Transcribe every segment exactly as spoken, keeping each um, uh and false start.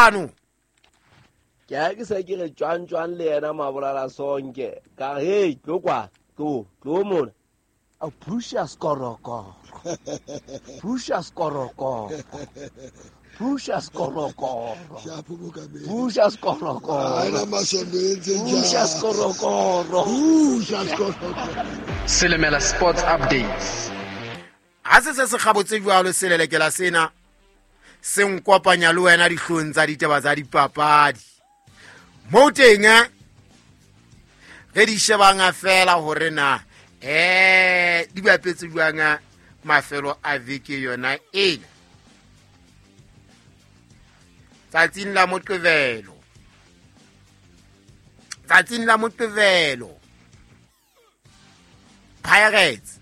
Kopano. Ke a ke se ke re tjwang tjwang le yena Mabolala Sonke. Ka re hey, tlo kwa, tlo, tlo mona. A pusha skorokoro. Pusha skorokoro. Pusha skorokoro. Pusha skorokoro. Pusha skorokoro. Pusha skorokoro. Selemela Sports Updates. Ha se se se kgabotse jwalo selelekela sena se nkopanya le wena dihlong tsa ditaba tsa dipapadi. Mo teng re di shebang fela hore na eh di bapetse jwang mafelo a veke yona ena. Tsatsing la Moqebelo. Tsatsing la Moqebelo. Pirates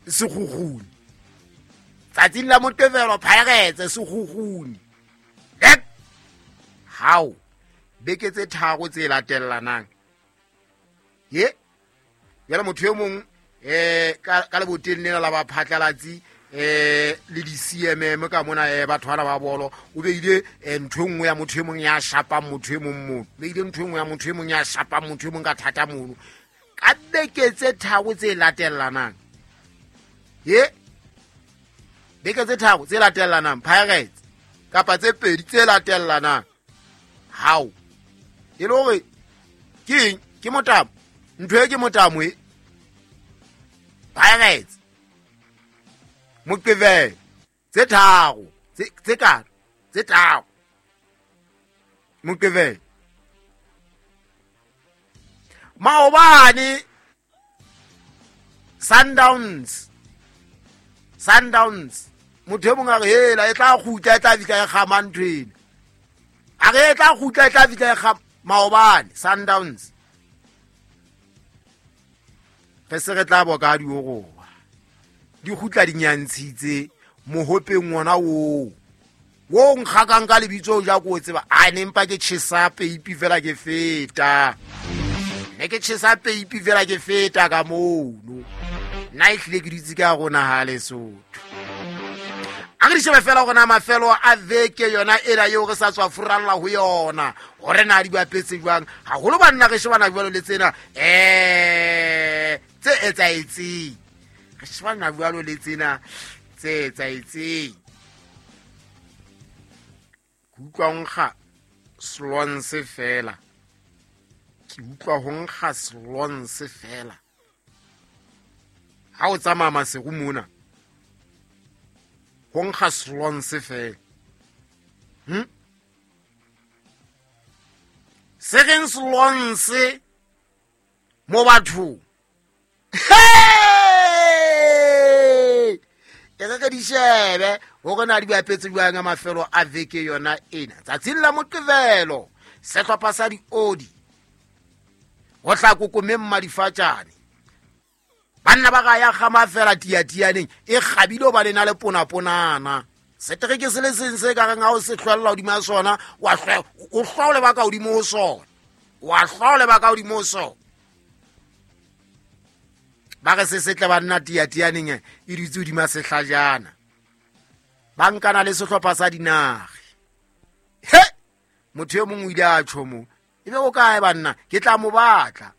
Sekhukhune. Tsatsing la Moqebelo Pirates Sekhukhune. Lek how beke tse tharo tse latellanang. Ye yela motho e mong eh ka ka leboteng lena la ba phatlalatsi eh le di C M M ka mona eh batho bana ba bolo o beile ntho nngwe ya motho e mong ya shapang motho e mong mono beile ntho nngwe ya motho e mong ya shapang motho e mong ka thata mono ka beke tse tharo tse latellanang. Ye beke tse tharo tse latellanang Pirates kapa tse pedi tse latellanang. How e le hore ke eng ke motamo ntho e ke motamo e Pirates Moqebelo tse tharo tse tse ka tse tharo Moqebelo maobane Sundowns Sundowns motho e mong a re hela e tla kgutla e tla fihla e kgama ntho ena a re e tla kgutla e tla fihla e kgama maobane Sundowns re se re tla boka dioroba di kgutla di nyantshitse mohopeng wona oo wo nkgakang ka lebitso ja ko tseba a ne mpa ke tjhesa peipi fela ke feta ne ke tjhesa peipi fela ke feta ka mono nna e hlile ke dutse ka rona ha Lesotho. A re shebe fela hore na mafelo a veke yona ena eo re sa tswa furalla ho yona hore na di bapetse jwang haholo banna re shebana jwalo le tsena eh tse etsaetseng re shebana jwalo le tsena tse etsaetseng. Ke utlwa ho nkga slonse fela ke utlwa ho nkga slonse fela ha o tsamaya Maseru mona ho nkga slonse fela. Hm se reng slonse mo bathong. E re re di shebe hore na di bapetse jwang mafelo a veke yona ena. Tsatsing la Moqebelo sehlopha sa diodi ho tla kokomeng madifatjane banna ba ga ya kgama fela tiatianeng e kgabile ba lena le ponaponana setereke se le seng se ka reng ha o se hlwella hodima sona wa hlwa o hlwaole ba ka hodimo ho sona wa hlwaole ba ka hodimo ho sona ba re se setle banna tiatianeng e dutse hodima sehlajana ba nkana le sehlopha sa dinare. He motho e mong o ile a tjho mo ebe o kae banna ke tla mo batla.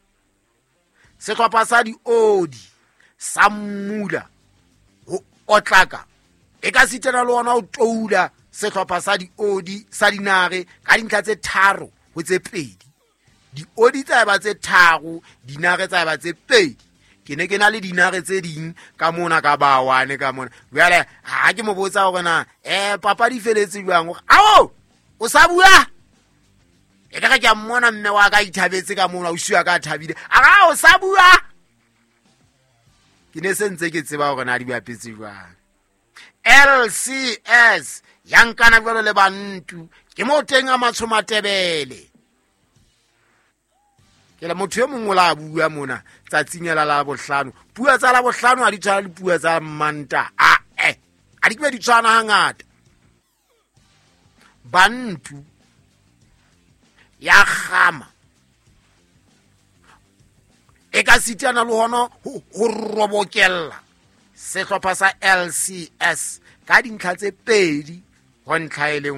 Sehlopha sa diodi sa mmula ho otlaka e ka sitana le ona o toula sehlopha sa diodi sa dinare ka dintlha tse tharo ho tse pedi. Diodi tsa ba tse tharo dinare tsa ba tse pedi. Ke ne ke na le dinare tse ding ka mona ka bawane ka mona jwale ha ke mo botsa hore na eh papadi feletse jwang hore ao o sa bua e ka re ke a mmona mme wa ka ithabetse ka mona o siwa ka thabile a ra o sa bua ke ne se ntse ke tseba hore na di bapetse jwang. L C S ya nkana jwalo le bantu ke mo teng a matsho matebele ke la motho e mong o la bua mona tsatsing la la bohlano puo tsa la bohlano ha di tshwana le puo tsa Manta a eh a di ke di tshwana hangata. Bantu ya kgama e ka sitana le hona ho robokella sehlopha sa L C S ka dintlha tse pedi ho ntlha e le